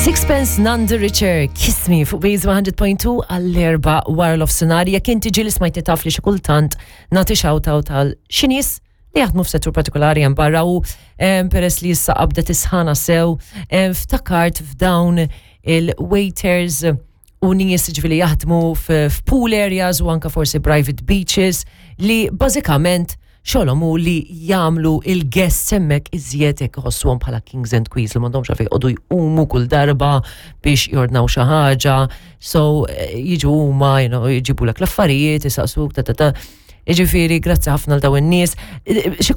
Sixpence None the Richer, Kiss Me fuq Base 100.2 għall-4 wara l-offsenar. Jekk inti ġieli smajti taf li xi kultant nagħti shout-out għal xi nies li jaħdmu f'settur partikolari hemm barra u peress li issa qabdet isħana sew ftakart f'dawn il-waiters u nies ġifieri jaħdmu f'pool areas u anka forsi private beaches li bażikament xogħolhom hu li jagħmlu il-guests hemmhekk iżjed hekk iħossuhom bħala kings and queens li m'għandhomx għalfejn joqogħdu jqumu kull darba biex jordnaw xi ħaġa. So jiġu huma, jġibulek l-affarijiet, isaqsuk ta ta ta. Jiġifieri grazzi ħafna għal dawn in-nies. Xi